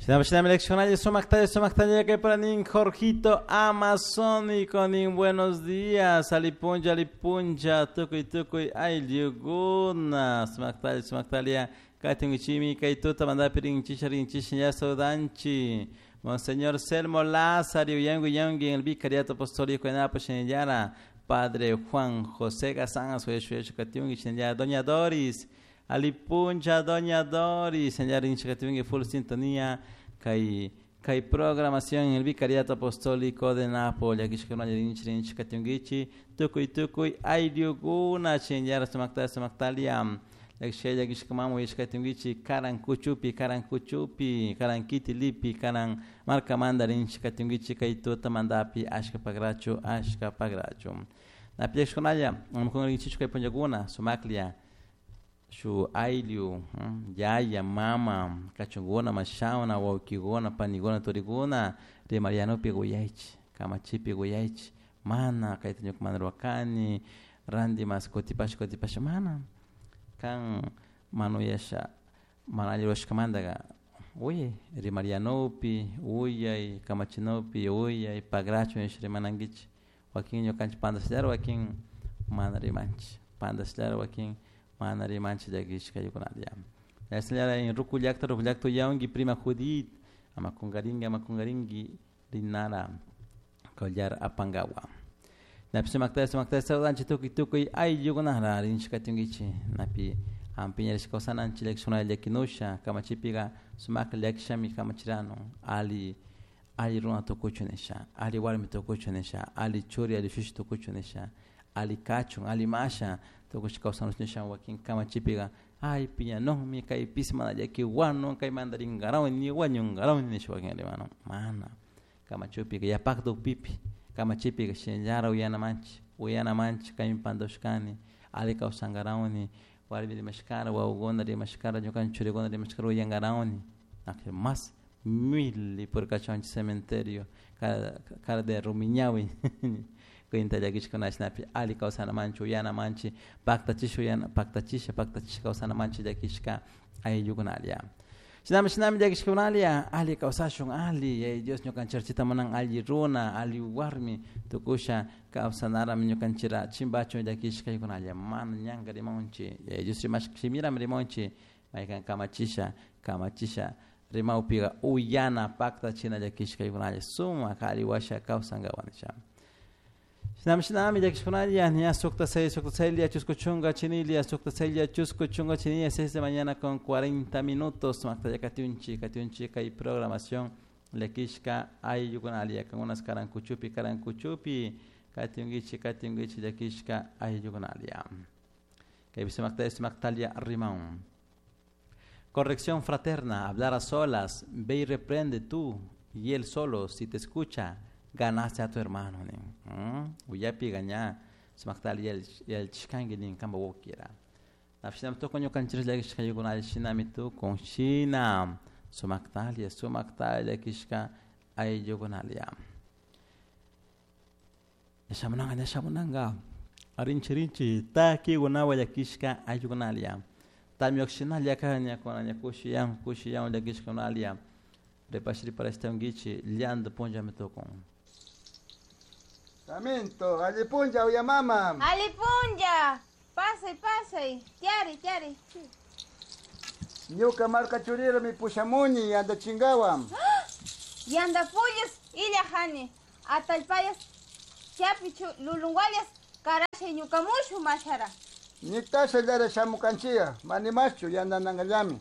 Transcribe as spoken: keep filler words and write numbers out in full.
Shinami sumaktalla sumaktalla kay paranin Jorgito Amazónico nin buenos días alipunlla alipunlla tukuy tukuy ayllukuna sumaktalla sumaktalla katingichimi kay tuta mandapi rinchisha rinchisha ya saudanchi Monseñor Selmo Lázaro yangu yangu en el Vicariato Apostólico en Apo Shinellara Padre Juan José Gazán Suyeshu Katiungi Shinellara Doña Doris Alipuncha Doña Doris señor Inchikatiungi full sintonía kay kay programación en el Vicariato Apostólico de Nápoles akishkuna rinchi tukuy tukuy ayllukuna chinyara sumakta sumaktalia lakshaya kishkamamu ishkatungichi karan kuchupi karan kuchupi karan kitilipi karan markamanda rinchikatungichi kay tuta mandapi ashka pagrachu ashka pagrachu napiashkunalla amkun rinchichu kay punllakuna sumaklia shu ayllu yaya mama kachunguna mashawna wawkikuna panikuna turikuna rimarianopi quyaychik kamachipi quyaychik mana kayta ñuka mana rurakani ranti mas kutipash kutipash mana kan manuyasha mana alli rurashkamantaka uyay rimarianopi uyay kamachinopi uyay pagrachu nisha rimanankichik wakin ñukanchik pantashallara wakin mana rimanchik pantashallara wakin mana rimanchik llakishkaykunalla yashallara en ruku llakta ruku llakta uyawanki prima Judith ama kunkarinki ama kunkarinki rinara collar apankawa napi sumakta sumakta saludanchik tukuy tukuy ayllukunara rinchik katinkichik napi ampiñarishka kawsananchik llakishkunalla llakinusha kamachipika sumakta llakishami kamachirano alli alli runa tukuchun nisha alli warmi tukuchun nisha alli churi alli shushi tukuchun nisha alli kachun alli masha tukushka kawsanush nisha wakin kamachipika ay piñanunmi kaypis mana llakiwanun kaymanta rinkarawni wañunkarawni nisha wakin rimano mana kamachupika yapakta upipi kamachipika shinallara uyanamanchik uyanamanchik kaymi pantashkani alli kawsankarawni warmi rimashkara wawakuna rimashkara ñukanchik churikuna rimashkara uyankarawni mas mili purkachunchik cementerio cara, cara de rumiñawi cuenta llakishkuna shinapi alli kawsanamanchik uyanamanchik paktachisha uyana paktachisha paktachisha kawsanamanchik llakishka ayllukunalla shinami shinami llakishkunalla alli kawsashun alli yaya Dios ñukanchik munan alli runa alli warmi tukusha kawsanarami ñukanchira chimbachun llakishkaykunalla mana ñanka rimamunchik yaya Dios rimashka shimirami rimamunchik maykan kamachisha kamachisha rimawpika uyana paktachina llakishkaykunalla sumak alli washa kawsankawan nisha Shinami shinami llakishkunalla ña sukta seis sukta seis chusku chunka chinilia sukta seis chusku chunka chinilia seis de mañana con cuarenta minutos sumakta katiunchik katiunchik kay programación llakishka ayllukunalia kankunas karankuchupi karankuchupi katiunkichik katiunkichik llakishka ayllukunalia kaypi sumakta sumaktalia rimaun. Corrección fraterna, hablar a solas, ve y reprende tú y él solo, si te escucha, ganaste a tu hermano. Uyapi gaña, sumaktal yel yel chishkangi nin kamba wokira. Nafshinam tu con ñukanchik llakishkaykunalla shinami tukun shina sumaktalia sumaktalia llakishka ayllukunalia. Ñashamunanga ñashamunanga rinchi rinchi takikunawan llakishka ayllukunalia. Tamyok shinalla kaña kuna ña kushiyan kushiyan llakishkunalia. Ripash riparashtankichik llanto punllami tukun. Saminto, allipunlla uyamama. Allipunlla, pasay pasay, tiari tiari. Ñuka marka churirami pushamuni yanta chinkawan. Yanta pullas illajani, atallpayas chapichu lulunguayas karashay ñukamushu mashara. Niktasha llara shamukanchiya, manimaschu yantanangallami.